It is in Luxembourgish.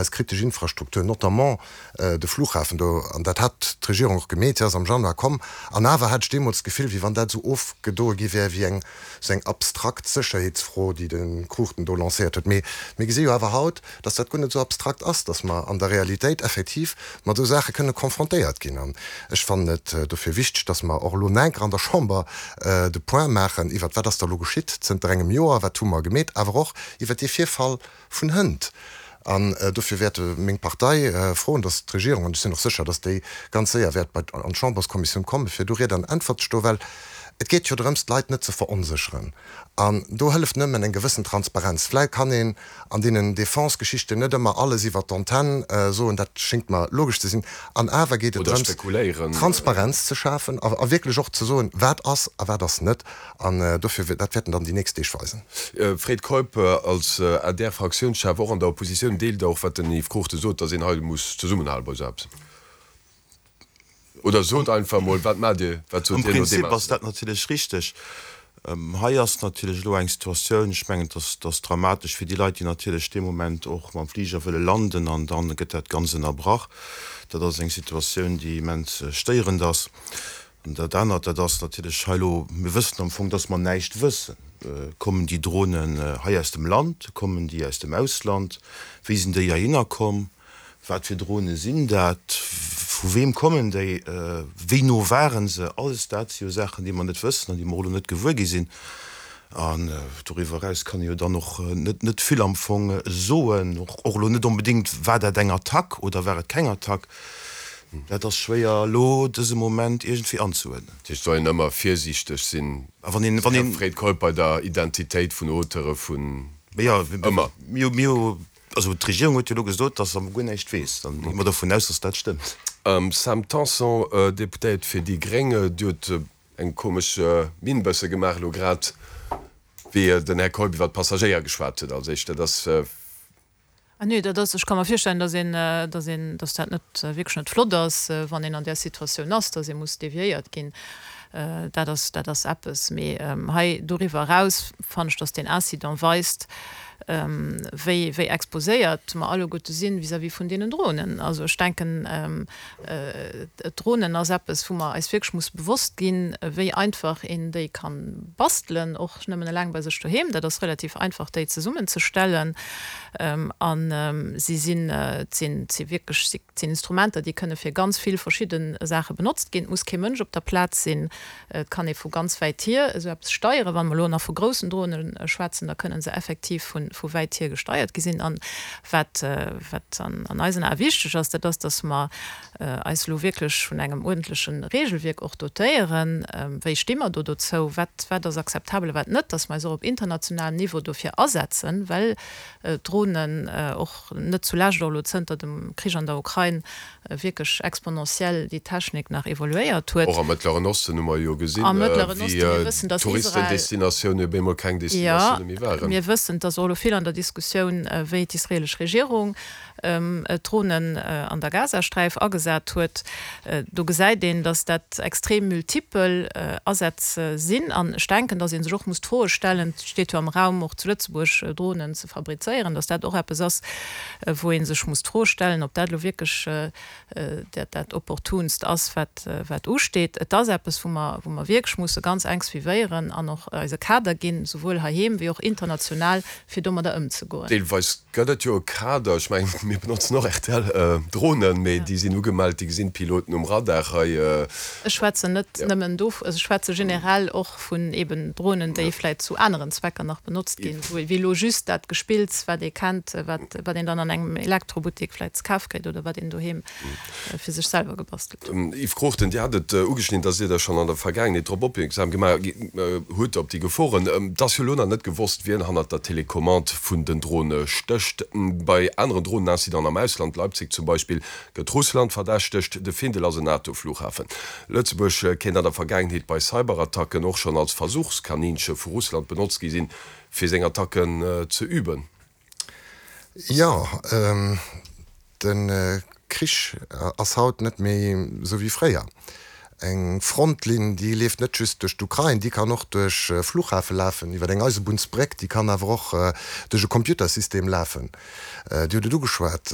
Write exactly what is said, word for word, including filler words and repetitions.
Eis kritesch Infrastruktur, notamment de Flughafen do, an dat hat d'Regierung och gemeet, se ass am Januar komm, an awer hat ech deemools d'Gefill, wéi wann dat esou ofgedoe gi wär wéi eng esou eng abstrakt Sécherheetsfro, déi de Cruchten do lancéiert huet. Mee mir gesi jo awer haut, dass dat guer net esou abstrakt ass, dass mer an der Realitéit effektiv mat esou Saache kënne confrontéiert ginn. An ech fannen et dofir wichteg, dass mer och elo enker an der Chamber de Point maachen iwwert, wat ass da elo geschitt zënter engem Joer, wat hu mer gemeet, awer och iwwert dee Virfall vun hënt. An dofir wäert meng Partei froen, dass d'Regierung, an ech sinn och sécher, dass déi ganz séier wäert bei an d'Chamberskommissioun kommen, fir do Ried an Äntwert ze stoen, well et geet jo drëms, d'Leit net ze veronsécheren. An do hëlleft nëmmen eng gewëssen Transparenz. Vläicht kann een an deenen Defense-Geschichten net ëmmer alles iwwert d'Antenn soen, dat schéngt mer logesch ze sinn. An awer geet et Oder drëms, spekuléieren. Transparenz ze schafen a wierklech och ze soen, wat ass a wat ass net. An dofir, dat wäerten dann déi nächst Deeg weisen. Fred Keup, als A D R-Fraktiounschef, och an der Oppositioun, deelt Der och, wat den Yves Cruchten sot, datt een hei muss zesummenhale bei esou eppes? Oder sot einfach emol, wat maacht Dir, wat Am sot Dir no deem Prinzip ass dat Incident? natierlech richteg. Hei ass natierlech elo eng Situatioun, ech mengen, et ass dramatesch fir déi Leit, déi natierlech dee Moment och mam Fliger wëlle landen an da gëtt dat Ganzt ënnerbrach. Dat ass eng Situatioun, déi immens stéierend ass. An dat anert, dat ass natierlech hei elo, mir wëssen am Fong, dass mer näischt wëssen. Kommen déi Dronen hei aus dem Land, kommen déi aus dem Ausland, wéi sinn déi heihinner komm, wat fir Drone sinn dat, vu weem kommen déi, wéi no ware se? Alles dat si jo Saachen, déi mer net wëssen an déi mer och elo net gewuer gi sinn. An doriwwer eraus kann ee jo dann och net net vill am Fong soen, och elo net onbedéngt, war dat eng Attack oder war et keng Attack. Dat ass schwéier elo dëse Moment iergendwéi anzeuerdnen. Dat heescht, et soll een ëmmer virsiichteg sinn, A wann een, wann Här een. Fred Keup, bei der Identitéit vun Auteure vun Jo, ëmmer. mir hu, also d'Regierung huet jo elo gesot, datt se guer näischt weess. Dann gi mer dovun aus, datt dat stëmmt. Sam Tanson, Deputéiert fir déi gréng, Dir hutt eng komesch Minn bësse gemaach elo grad, wéi den Här Keup iwwer d'Passagéier geschwat huet als éischt. Dat ass. Ah nee, dat ass, ech ka mer virstellen, dass een, dass een, dass dat net wierklech net flott ass, wann een an där Situatioun ass, dass ee muss deviéiert ginn. Dat ass, dat ass eppes. Mee hei doriwwer eraus fannen ech, dass deen Incident weist, wéi, wéi exposéiert mer alleguerte sinn vis-à-vis vun deenen Dronen. Also ech denken, d'Dronen ass eppes, wou mer eis wierklech musse bewosst ginn, wéi einfach een déi ka bastelen, och nëmmen eleng bei sech doheem. Dat ass relativ einfach, déi zesummenzestellen. A si sinn, et sinn, et si wierklech, et sinn Instrumenter, déi kënne fir ganz vill verschidde Saache benotzt ginn. Et muss kee Mënsch op der Plaz sinn. Et kann ee vu ganz wäit hier esou eppes steieren. Wa mer elo nach vu groussen Drone schwätzen, da kënne se effektiv vu, vu wäit hier gesteiert gi sinn. An wat, wat an, an eisen Ae wichteg ass, dat ass, dass mer eis elo wierklech vun engem uerdentleche Regelwierk och dotéieren. Wéi sti mer do dozou? Wat, wat ass akzeptabel a wat net? Dass mer eis och op internationalem Niveau dofir asetzen, well d'Dronen och net zulescht och elo zënter dem Krich an der Ukrain wierklech exponentiell déi Technik nach evoluéiert huet. Och am Mëttleren Osten hu mer jo gesinn, Am Mëttleren Osten, mir wéi wëssen, dass Israel. Touristendestinatioune op eemol keng Jo, Destinatioune méi waren. mir wëssen, et ass och elo vill an der Diskussioun, wéi d'israelesch Regierung Dronen an der Gazasträif agesat huet. Do gesäit een, dass dat extrem multipel Asätz sinn. An ech denken, dass ee sech och muss d'Froe stellen, et steet jo am Raum, och zu Lëtzebuerg Dronen ze fabrizéieren, dass dat och eppes ass, wou ee sech muss d'Fro stellen, ob dat elo wierklech dat dat Opportunst ass, wat wat usteet. Et ass eppes, wou mer wou mer wierklech musse ganz enk suivéieren an och eis e Kader ginn, souwuel heiheem wéi och international, fir domadder ëmzegoen. Deelweis gëtt et jo e Kader. Ech mengen, mir benotzen och R T L-Dronen, mee déi sinn ugemellt, déi gesinn d'Piloten um Radar hei. Ech schwätzen net nëmmen do, also ech schwätze generell och vun eben Dronen, déi vläicht zu aneren Zwecker nach benotzt ginn, wéi elo just dat Gespills, wat ee kennt, wat wat een dann an engem Elektrobuttek vläicht ze kafe kritt oder wat een doheem fir sech selwer gebastelt huet. Yves Cruchten, Dir hat et ugeschnidden, dass Dir da schonn an der Vergaangenheet drop opmierksam gemaach hutt, op déi Geforen. Et ass jo elo nach net gewosst, wien hannert der Telecommande vun den Drone stécht. Bei aneren Dronenincidenten am Ausland, Leipzig zum Beispill, gëtt Russland verdächtegt. De Findel ass en NATO-Flughafen. Lëtzebuerg kéint an der Vergaangenheet bei Cyberattacken och schonn als Versuchskaninche vu Russland benotzt gi sinn, fir seng Attacken ze üben. Jo, de Krich ass haut net méi esou wéi fréier. Eng Frontlinn, déi leeft net just duerch d'Ukrain, déi kann och duerch e Flughafe lafen, iwwer eng Eisebunnsbréck, déi kann awer och duerch e Computersystem lafen. Dir hutt et ugeschwat,